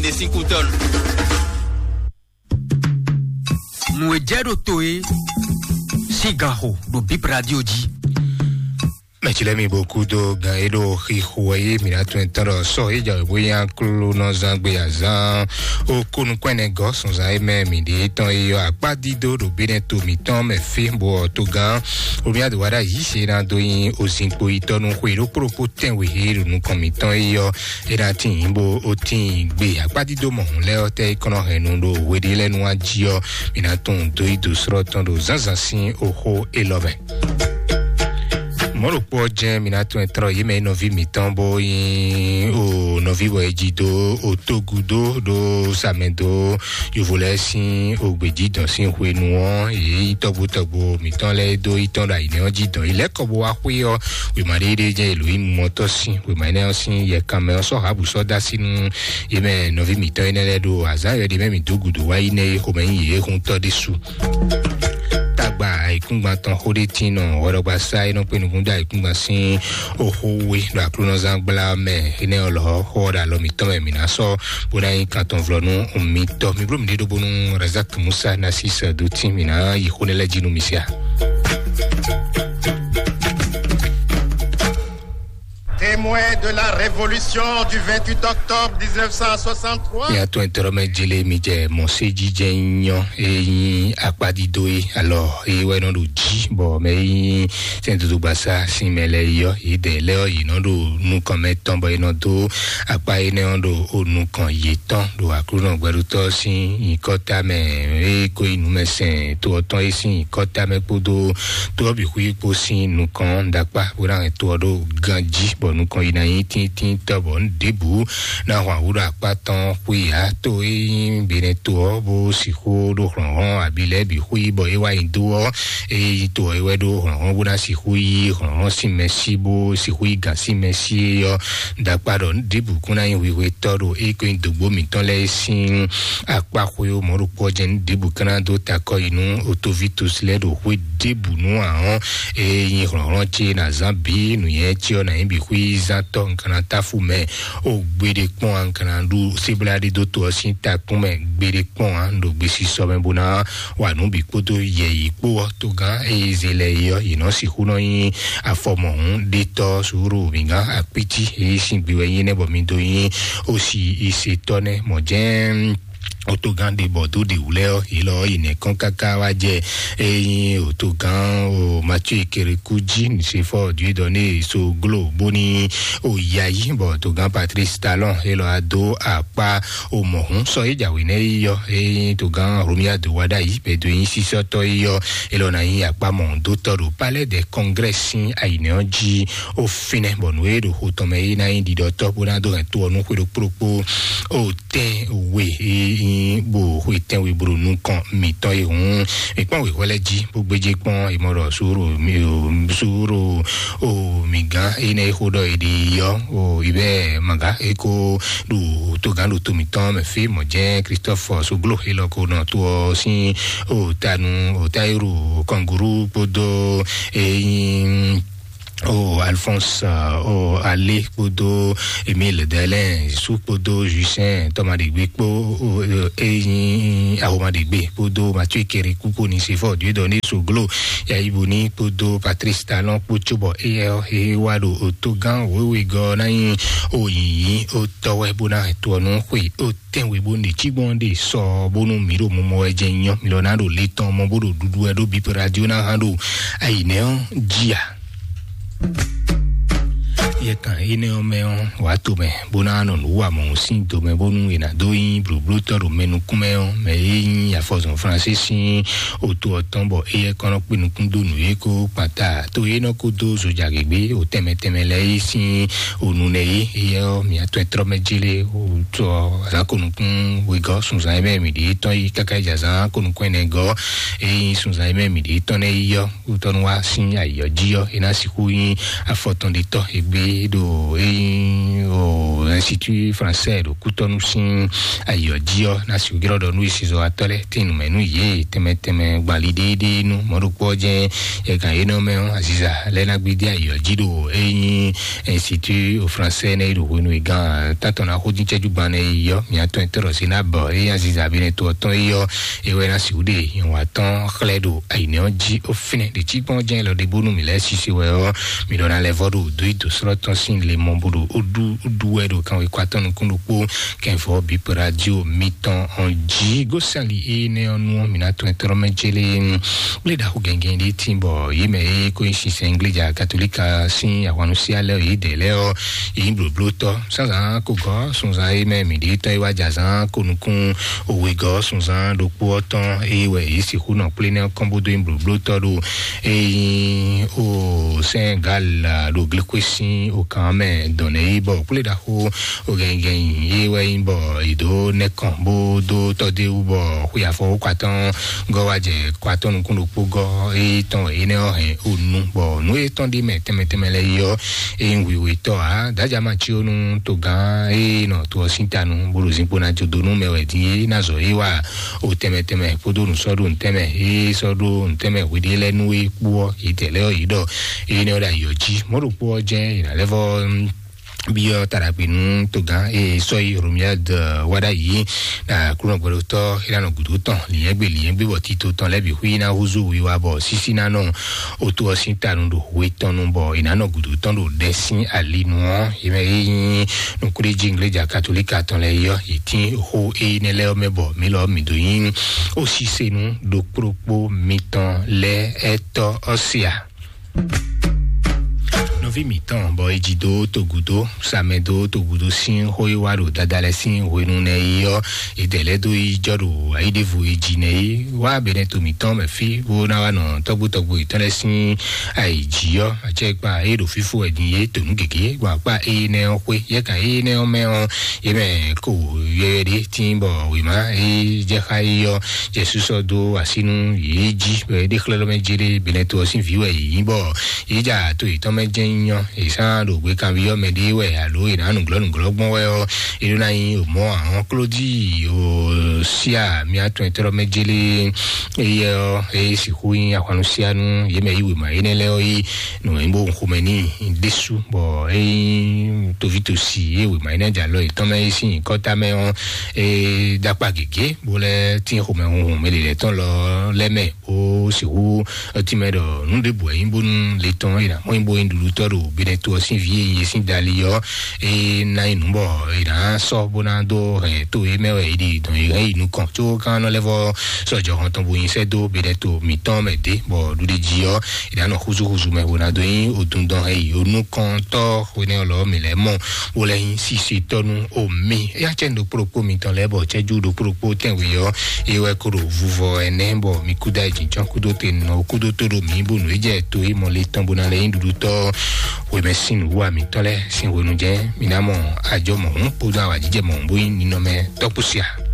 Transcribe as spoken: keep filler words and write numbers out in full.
Esí kú tɔn. Nǔ e jɛ ɖo to e sín gan xo ɖo Bib Radio jí. Mɛ ci lɛ́ɛ mi bo kúdó gan e ɖo xixo wɛ yé mi ná tún ɛ tɔn ɖɔ sɔ e jɛ bó nyí aklúnɔzán gbé azán ó kónúkwɛ́nɛgɔ́ sunzán e mɛ mi ɖe tɔn e yɔ akpá dídó ɖo bénɛ to mǐtɔn mɛ fí bó ɔ togán omi adǒwáɖá yǐ se ná dó nyí ozinkpo yitɔ́ nú xwe ɖokpó ɖokpó tɛ́nwe e ɖo nukɔn mǐtɔn e yɔ é ná tín bó ó tín gbé akpá dídó mɔ̌hun lɛ́ɛ ɔ́ tɛ́ é kɔn nɔ hɛn nu ɖo hweɖé lɛ́ɛ nu wá jí ɔ́ mi ná tunwun dó yí dǒ slɔ́ tɔn ɖo zǎnzǎn sín oxó élɔ́ mɛ. Mɔ̌ ɖokpó ɔ́ jɛ́n mi ná tún ɛ tlɔ́ yě mɛ e nɔví mǐtɔn bó nyí o nɔví bɔ è ji dó o tógúdó ɖó samɛ dó yovo lɛ́ɛ sín ogbějǐdɔn sín hwenu ɔ́, yě nyí tɔgbo tɔgbo mǐtɔn lɛ́ɛ dó yi tɔn ɖo ayǐnɛ́ ɔ́ jí dɔn. Yi lɛ́ kɔ bó wá xwé ɔ́, wěma ɖé ɖé jɛ́n Elóyi mɔ tɔ́ sín wěma énɛ́ ɔ́ sín yɛkanmɛ ɔ́ sɔ́ hǎbǔ sɔ́ dó así nú yě mɛ nɔví mǐtɔn énɛ́ lɛ́ɛ ɖo azǎn yɔ̌ɖi mɛ mǐ dó gǔdo wá yi nɛ́ é xomɛ nyí yě huntɔ́ ɖésú. Tagba ayǐkúngban tɔn xó ɖé tín nɔ hwɛɖɔgbasá e nɔ kpé nukún dó ayǐkúngban sín oxó we ɖo aklúnɔzán gbla mɛ énɛ́ ɔ́ lɔ̌ xó ɔ́ ɖo alɔ mǐtɔn mɛ mǐ ná sɔ́ bó ná nyí kan tɔn vlɔ nú mitɔn. Mi bló mǐɖée ɖó bónú Razak Musa ná sí sɛ dó tín mǐ ná yi xó nɛ́ lɛ́ɛ jí nú mi sia. Témoin de la révolution du vingt-huit octobre dix-neuf cent soixante-trois. Mía tɔn tɔrɔ mɛ jele mi jɛ mɔsejijɛ nyɔ e nyi akpadido e alɔ e wɛ nɔ ɖo jí bɔ mɛ e nyi sɛn dodo gbasa sin mɛ lɛ yɔ yi dɛ lɛ ɔ yi nɔ ɖo nukɔn mɛ tɔn bɔ e nɔ do akpa e nɛ ɔ ɖo o nukɔn yi tɔn ɖo aklunɔ gbɛɖutɔ sin nyikɔta mɛ e ko yi numɛsɛn to ɔtɔn e sin nyikɔta mɛ kpodo to ɔ bǐ xwí kpo sin nukɔn ɖakpa bó ná hɛn to ɔ ɖo ganjí bɔ nukɔn yi ná nyí tíntín tɔ bɔ nu ɖěbǔ ná hɔn awǔ ɖo akpá tɔn xwé ǎ. To e nyí benɛ to ɔ́ bó sixú ɖó hlɔ̌nhlɔ́n abi lɛ́ɛ bǐ xwé bɔ é wá nyi dó ɔ́, é nyí to ɔ́ é wɛ ɖó hlɔ̌nhlɔ́n bó ná sixú yí hlɔ̌nhlɔ́n sín mɛ sí bó sixú yí gǎn sín mɛ sí é ɔ́. Ɖakpá ɖɔ nu ɖěbǔ kún ná nyí hwihwetɔ́ ɖo é ko nyí dǒgbó mǐtɔn lɛ́ɛ sín akpá xwé ó mɔ̌ ɖokpó ɔ́ jɛ́n nu ɖěbǔ ká ná dó takɔ yi nú otoví tosi lɛ́ɛ ɖo xwé ɖěbǔ nú ahɔn e nyi hlɔ̌nhlɔ́n ce ná zán bǐ nǔnywɛ́ ce ɔ́ ná nyí bǐ xwízántɔ́ un ka ná táfú mɛ o gbeɖé kpɔ́n a un ka ná ɖu sébláɖí dó to ɔ́ sín takún mɛ gbeɖé kpɔ́n a un ɖo gbesisɔ mɛ bó ná wa nǔ bǐ kpódó yɛ̌yi kpó ɔ́ togán e zé lɛ é ɔ́ yě nɔ sixú nɔ nyí afɔmɔhún ɖétɔ́ sùúrù mǐgán akpítí e sín gbe wɛ nyí nɛ́ bɔ mi dó nyí osi isetɔ́ nɛ́ mɔ̌ jɛ́n otogán ɖe bɔ dó ɖe wǔ lɛ́ ɔ́ yě lɔ ɔ́ yi nɛ̌ kɔn káká wá jɛ e nyí otogán o Mathieu Ekereku jí nusefɔ Dieudonné Soglo bóní o yayi bɔ otogán Patrice Talon é lɔ adó akpá o mɔ̌hún sɔ é jǎwe nɛ́ yi yɔ e nyí togán Romia do wá ɖ'ayǐ bɛdo e nyí sísɔ́tɔ́ yi yɔ é lɔ ná nyí akpá mɔ̌hún dó tɔ́ ɖo Palais des Congrès sín ayǐnɛ́ ɔ́ jí o fínɛ́ bɔ nǔ e ɖo xo tɔn mɛ é ná nyí ɖiɖɔtɔ́ bó ná dó hɛn to ɔ́ nú xwé ɖokpó ɖokpó o tɛ́nwe e nyí bo xwe tɛ́nwe bro nukɔn mǐtɔn e hǔn mi kpɔ́n wěxɔ lɛ́ɛ jí bó gbéjé kpɔ́n e mɔ ɖɔ suro mi o suro o mi gán e nɛ e xo ɖɔ e ɖi yɔ o ibɛ maga e ko ɖo togán ɖo to mǐtɔn mɛ fí mɔ jɛ Christophe Soglo e lɔ ko nɔ to ɔ sín o tanu o Tayiru Kɔnguru kpódó e nyí o Alphonse o Ale kpódó Emile Delin su kpódó Justin Tɔmaɖegbe kpó o e nyí Ahomaɖegbe kpódó Mathieu Kere kpókpó ní se fɔ Dieudonné Soglo Yayibu ní kpódó Patrice Talon kpó cóbɔ eyɛ e wá ɖo otogán wéwegɔ́ ná nyí o yìnyín o tɔwɛ bó ná to ɔ́ nú xwe o tɛ́nwe bó ɖe cí gbɔn ɖe sɔ bónú mǐ ɖo mɔmɔ wɛ jɛ nyɔ mǐ lɔ ná ɖo le tɔn mɔ bó ɖo ɖuɖu wɛ ɖó bípo radio ná hán ɖo ayǐnɛ́ ɔ́ jí a. Yɛ kan énɛ́ ɔ́ mɛ ɔ́ wǎ to mɛ bó ná nɔ nǔ wa mɔ̌ sín do mɛ bónú è nǎ dó nyí blǒblótɔ́ ɖo mɛ nukún mɛ ɔ́ mɛ e nyí afɔzɔn Fransé sín oto ɔ́ tɔn bɔ éyɛ́ kɔn nɔ kpé nukún dó nǔ e kó kpata to e nɔ ko dó zojagěgbé o tɛnmɛ tɛnmɛ lɛ́ɛ é sín o nunɛ é éyɛ́ ɔ́ mǐ atɔn e tlɔ́ mɛ jélé o tɔ azǎn ko nukún wegɔ́ sunzan e mɛ mǐ ɖe tɔn yi káká yi jɛ azǎn ko nukún ɛnɛ gɔ́ e nyí sunzan e mɛ mǐ ɖe tɔn nɛ́ yi ɔ́ wútɔ́ nú wá sín ayǐ ɔ́ jí ɔ́ é ná sixú nyí afɔtɔn ɖe tɔ́ égbé ɖo eyin o Institut Français ɖo Kútɔ́nú sín ayǐ ɔ́ jí ɔ́, ná sixú jlɔ́ ɖɔ nú isizɔ́watɔ́ lɛ́ɛ tín nǔmɛ nú yě tɛnmɛ tɛnmɛ gban li ɖééɖéé nú mɔ̌ ɖokpó ɔ́ jɛ́n. Yɛ gǎn énɛ́ mɛ ɔ́, aziza lɛ́ɛ ná gbídí ayǐ ɔ́ jí ɖo eyin Institut Français nɛ́ yi ɖo hwenu e gán tátɔn ná xó dín cɛ́jú gban nɛ́ yi ɔ́, mǐ atɔn e tɔ́ ɖɔ sí ná bɔ eyin aziza bi nɛ to ɔ́ tɔn yi ɔ́, é wɛ ná sixú ɖe nyɔ̌nu atɔn xlɛ́ ɖo ayǐnɛ́ ɔ́ jí ó fínɛ́ ɖě cí kpɔ́n jɛ́n lɔ ɖé bónú mǐ lɛ́ sisi wɛ ɔ́, mǐ ɖɔ ná lɛ́ vɔ́ ɖo dó yi dǒ slɔ́ tɔn sín le mɔ bó ɖo ó ɖu ó ɖu wɛ ɖo kanwekɔ atɔn nukún ɖokpó kɛnvɔ bǐ radio mitɔn ɔn jí. Gósali énɛ́ ɔ́ nu ɔ́, mǐ ná tɔn ɛtɔ́ mɛ jélé kplé ɖaxó gɛngɛn ɖé tín bɔ yě mɛ e ko nyí sinsɛn Ingleja Katolíka sín ahwannusia lɛ́ɛ yě dɛ lɛ́ɛ ɔ́, yě nyí blǒblótɔ́. Zǎnzǎn ko gɔ́ sunzan e mɛ mǐ ɖe tɔ́ e wá jɛ azǎn ko nukún wegɔ́ sunzan ɖokpó ɔ́ tɔn, eye wɛ yě sixú nɔ kplé nɛ́ kɔn bó dó nyí blǒblótɔ́ ɖo e nyí o Senegal ɖo glekwe sín o kan mɛ dɔn nɛ yi bɔ kplé ɖaxó o gɛngɛn yi wɛ nyí bɔ yě dó nɛkɔn bó dó tɔ́ dó wú bɔ xwe afɔ wó kwatɔn gɔ́ wá jɛ kwatɔ́ nukún ɖokpó gɔ́ e tɔn énɛ́ ɔ́ hɛn o nu bɔ nǔ e tɔn ɖi mɛ tɛnmɛ tɛnmɛ lɛ́ɛ yi ɔ́, e nyí wěwé tɔ́ ǎ. Dájá ma cí ó nú togán e nɔ to ɔ́ sín ta nu bó ɖo zinkpo ná jó dó nú mɛ wɛ din e ná zɔ é wa o tɛnmɛ tɛnmɛ kpódó nǔsɔ́ɖó nǔtɛnmɛ e sɔ́ ɖó nǔtɛnmɛ hweɖé lɛ́ɛ nú é kpó ɔ́, yě tɛ lɛ́ɛ ɔ́ yě ɖɔ énɛ́ ɔ́ ɖo ayǐ ɔ́ jí. Mɔ̌ ɖokpó ɔ́ jɛ́n è nǎ lɛ́ vɔ́ byɔ́ taɖagbe nú togán e sɔ́ yi Romuald wá ɖ'ayǐ ɖo Aklúnɔ gbɛɖotɔ́ é ná nɔ gǔdo tɔn lǐnyɛ́gbe lǐnyɛ́gbe bɔ tito tɔn lɛ́ɛ bǐ xwí ná húzú wiwa bɔ sísí ná nɔ oto ɔ́ sín ta nu ɖo hwe tɔn nu bɔ è nǎ nɔ gǔdo tɔn ɖo ɖɛ sín ali nu ɔ́, yě mɛ e nyí nukúɖéjí Ingleja Katolíka tɔn lɛ́ɛ yi ɔ́, yě tín xó énɛ́ lɛ́ɛ ɔ́ mɛ bɔ mǐ lɔ mǐ dó nyí osisenu ɖokpóɖokpó mitɔn lɛ́ɛ ɛtɔ́ ɔ́ se a? Nɔví mǐtɔn bɔ é jí dó togúdó samɛ dó togúdó sín xó e wá ɖo dadalɛ sín hwenu nɛ yi ɔ́, é dɛ lɛ́ dó yi jɔ ɖo ayíɖévo e jí nɛ yi wá bɛnɛ to mǐtɔn mɛ fí bó ná wá nɔ tɔ́gbó tɔ́gbó yětɔn lɛ́ɛ sín ayǐ jí ɔ́, acɛkpa é ɖo fífó wɛ din yé to nǔ gěgé gbɔn akpá énɛ́ ɔ́ xwé yɛ́kan énɛ́ ɔ́ mɛ ɔ́, yě mɛ ko yɔyɔ ɖé tín bɔ wěma é jɛ xá é ɔ́, Jesu sɔ́ dó así nú yě jí bɔ é ɖe xlɛ́ lɔmɛ jéré bɛnɛ to ɔ́ sín vǐ wɛ yě nyí bɔ yě ja to yětɔn mɛ jɛ́n nyɔ yě sán ɖo gběkanví ɔ́ mɛ ɖé wɛ alo è nǎ nǔglɔ́ nǔglɔ́ gbɔn wɛ ɔ́, é ɖó ná nyí mɔ̌ ahɔn Klódi o sia mía tɔn etɔ́ mɛ jélé éyɛ ɔ́ é sixú nyí ahwannusianu yě mɛ yí wěma énɛ́ lɛ́ɛ ɔ́ yí nǔ e bó xomɛ n'i ɖésú bɔ é nyí tovítòsi é wěma énɛ́ jɛ alɔ yětɔn mɛ é sín nyǐkɔ tamɛ ɔ́, é ɖó akpá gěgé bó lɛ́ tín xomɛ hunhun mɛ lělɛ̌tɔn lɔ lɛ́ mɛ bó sixú tínmɛ ɖɔ nǔ ɖěbǔ wɛ nyí bónú le tɔn é ná mɔ nyí bó nyí ɖuɖutɔ́ ɖo Benɛto ɔ́ sín vǐ e nyí é sín dali ɔ́, é ná nyí nǔ bɔ è nǎ sɔ́ bó ná dó hɛn tó é mɛ wɛ è ɖi dɔn è hɛn yi nukɔn có kan nɔ lɛ́ vɔ sɔjɔ hɔn tɔn bó nyi sɛ́ dó Benɛto mǐtɔn mɛ dé bɔ ɖuɖeji ɔ́ è nǎ nɔ xúzúxúzú mɛ bó ná dó nyí odundɔn hɛn yi onukɔntɔ́ hwenɛ́ ɔ́ lɔ mǐ lɛ́ mɔ bó lɛ́ nyí sisetɔ́ nú omi. Éyá cɛ́ ɖokpó ɖokpó mitɔn lɛ́ɛ bɔ cɛ́jú ɖokpó ɖokpó tɛnwe ɔ́ é wɛ kó ɖo vuvɔ ɛnɛ bɔ mi kúdó ayǐjínjɔ́n kúdó te nɔ kúdó tó ɖo mǐ bónú é jɛ to e mɔ le tɔn bó ná lɛ́ nyí ɖuɖutɔ́ hwemɛ sín nǔwa mǐtɔn lɛ́ɛ sín hwenu jɛ́n mǐ ná mɔ ajɔ mɔ̌hún kpódó awǎjijɛ mɔ̌hún bó nyí ninɔmɛ tɔ́kpúsia.